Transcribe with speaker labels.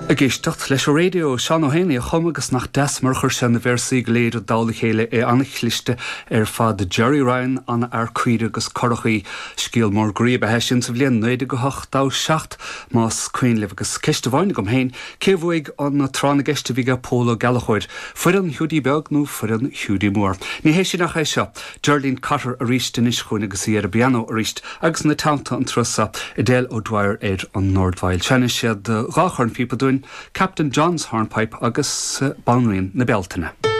Speaker 1: Ag éisteacht leis an raidió, Seán Ó hÉanaí a chum agus nach deas mar a chuir sé na véarsaí go léir i dtoll a chéile, é an-chliste ar fad. Gerry Ryan, an-fhear caoire agus currachaí. Scéal mór groí ab ea é sin sa bhliain 1987, más cuimhin libh. Agus ceist amháin agam féin, cé a bhuaigh an tráth na gceist a bhí ag Pól Ó Gallchóir? Foireann Hiúdaí Beag nó foireann Hiúdaí Mór? Ní hé sin ach é seo, Geraldine Cotter arís anois chugainn agus í ar an bpianó arís. Agus ina teannta an turas seo, Edel O'Dwyer ar an ndordveidhil. Seinnfidh siad dha chornphíopa dúinn, Captain John's Hornpipe agus Banríon na Bealtaine.